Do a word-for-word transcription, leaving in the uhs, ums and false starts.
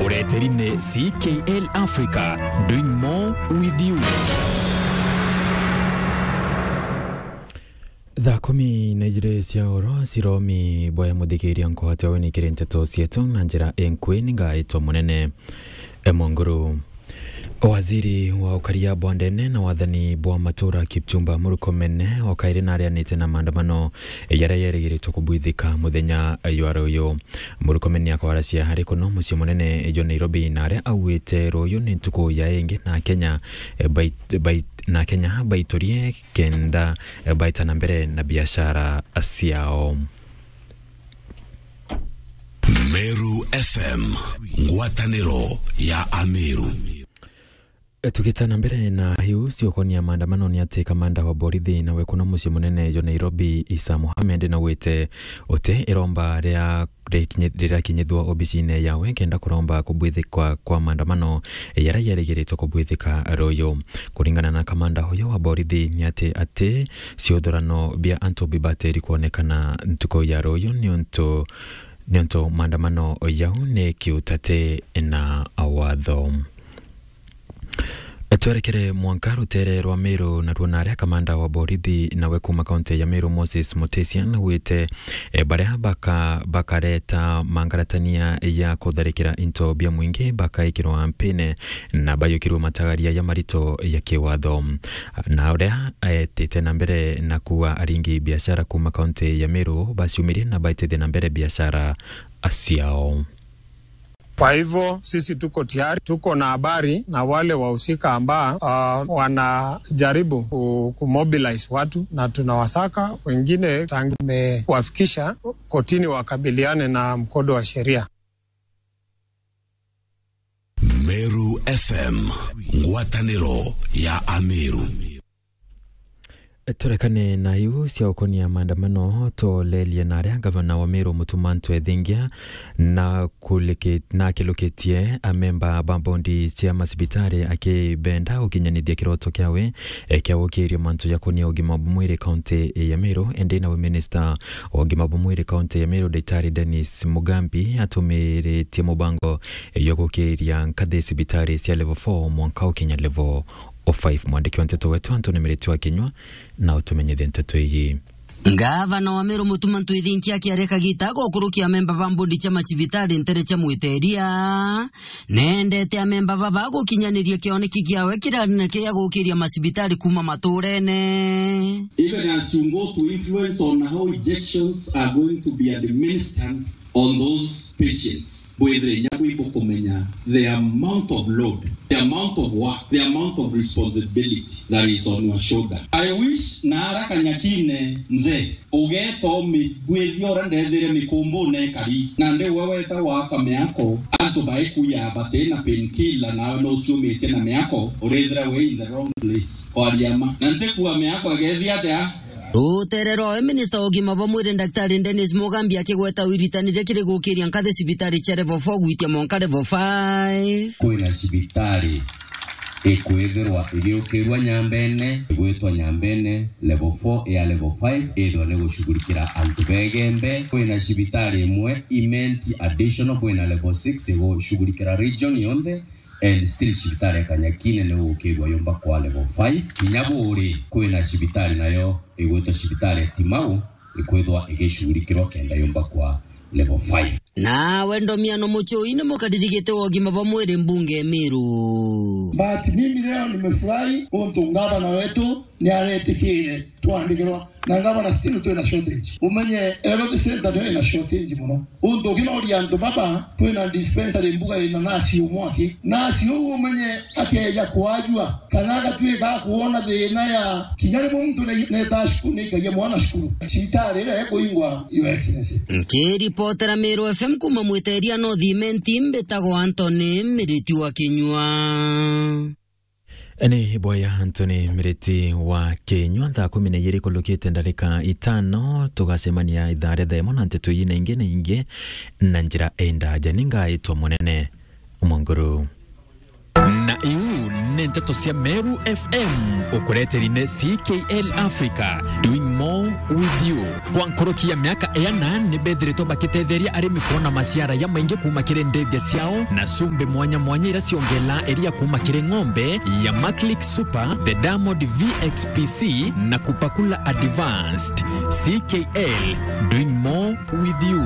Ureteri ni C K L Africa, doing more with you. Thaa kumi na ijiri cia oro, ciromi bwaya muthikiria nkwate we nikiri nteto cietu na njira inkui, ni ngaitwa munene. E Munguru. Waziri wa ukaria bwa ndene na wathani bwa matura Kipchumba Murkomen o kairi narianite na maandamano jaria yerigiritwe kubwithika muthenya jwa ruyu. Murkomen akwaracia ari kuno mucii munene jwa Nairobi, na aria augite ruyu ni ntuku ya ingi na Kenya, eh, bait-, bait-, na Kenya baiturie kenda, eh, baita na mbere na biashara ciao. Meru F M, ngwataniro ya Ameru. Tugita na mbere na iu ciokonia maandamano, ni ati kamanda wa borithi nawe kuna mucii munene jwa Nairobi, Isa Mohamed, naugite uti iromba ria rikinyi-, rirakinyithua obisine yawe kenda kuromba kubwithikwa kwa maandamano jaria yerigiritwe kubwithika ruyu. Kuringana na kamanda uyu wa borithi, ni ati, ati ciuthurano bia antu bibatiri kwonekana ntuku ya ruyu niuntu, niuntu maandamano jau ni kiutati na watho. Twerekere mwanka rutere rwa Meru, naruo naria kamanda wa borithi nawe kuma kaunti ya Meru, Moses Mutesia, naugite, eh, baria baka-, bakareta mangaratania ya kutharikira into bia mwingi bakaikirwa mpine na bayukirwe matagaria ya marito ya kiwatho. Na uria aetite na mbere na kuuga aringi biashara kuma kaunti ya Meru baciumirie na baitithie na mbere biashara ciao. Kwa hivyo, sisi tuko tayari, tuko na habari na wale wahusika ambao, ah, wanajaribu ku-, kumobilize watu, na tunawasaka, wengine tangu tumewafikisha kotini wakabiliane na mkondo wa sheria. Meru F M, ngwataniro ya Ameru. Turekane na iu cia ukonia maandamano, tulerie na aria gavana wa Meru Mutuma M'Ethingia na kuliki-, na akilukitie amemba ba bondi cia macibitari akibenda gukinyanithia kiroto kiawe, eh, kia gukiria mantu jakonia ugima bwa mwiri kaunti ya Meru. Indi nawe minista wa ugima bwa mwiri kaunti ya Meru, Daktari Dennis Mugambi, atumiritie mubango, eh, jwa gukiria nkathi cibitari cia level four mwanka ukinya level o five. Mwandiki wa nteto wetu Anthony Miriti wa Kinyua na utumenyithie nteto iji. Ngavana wa Meru Mutuma M'Ethingia akiaria kagita gukurukia amemba ba mbondi cia macibitari ntere cia Mwiteria, nendete amemba baba gukinyaniria kioneki kiawe kiria kia gukiria macibitari kuma maturene. Even as you go to influence on how injections are going to be administered, on those patients. Bwithire inya bwi bukumenya the amount of load, the amount of work, the amount of responsibility that is on your shoulder. I wish na ara Kanyakine nze, ugeta umigwithia uria ndethire mikumbune kari, na ndi we weta waka miako, antu baikuya bati na painkiller, nawe no uciumitie na miako, urithira we in the wrong place. Kwaria ma. Na ntikua miako igethia atia? Rutere rwawe, minista wa ugima bwa mwiri, Daktari Dennis Mugambi, akigweta wiritaniria kiri gukiria nkathi cibitari cia level four gwitia mwanka level five. Kwina cibitari ikwithirwa igiukirua Nyambene, igwitwa Nyambene level four ya level five, ithwa ni gushughulikira antu begembe. Kwina cibitari imwe Imenti additional, kwina level six igushughulikira region yonthe. And still cibitari ya Kanyakine ni gukirua yumba kwa level five. Kinya buri kwina cibitari nayo igwitwa cibitari ya Timau ikwithwa igicurikirwa kenda yumba kwa level five. Nawe Ndomiano Muchui ni mukariri giti wa ugima bwa mwiri mbunge Meru. But mimi leo nimefurahi untu ngavana wetu ni aretikire twandikirwa na ngavana, still twina shortage. Umenye health center niyo ina shortage muno. Untu ukinoria antu baba, twina dispensary mbuga ina nasi umwe aki. Nasi uu umenye akeja kwajua, kana agatwika akuona thina ya kinya rimwe muntu ne-, neta cukuru, neikagia mwana cukuru. Cibitari iria ikuingwa, Your Excellency. Nkiripotera Meru F M kuma Mwiteria North Imenti, mbitagwa Anthony Miriti wa Kinyua. Ni bwaya Anthony Miriti wa Kinyua. Thaa kumi na ijiri kulukite ndarika itano, tugacemania ithaa ria thaa imwe na nteto iji na ingi na ingi na njira indaja. Ni ngaitwa Munene Mwanguru. Na iu ni nteto cia Meru F M, ukureteri ni C K L Africa, doing more With you. Kwa nkuruki ya miaka iana, ni bethiritwe bakitetheria arimi kwona maciara jamaingi kuuma kiri ndithia ciao na cumbi mwanya mwanya iria ciongelaa iria kuuma kiri ng'ombe ya Maclick Super, the Diamond V X P C na Kupakula Advanced. C K L, doing more with you.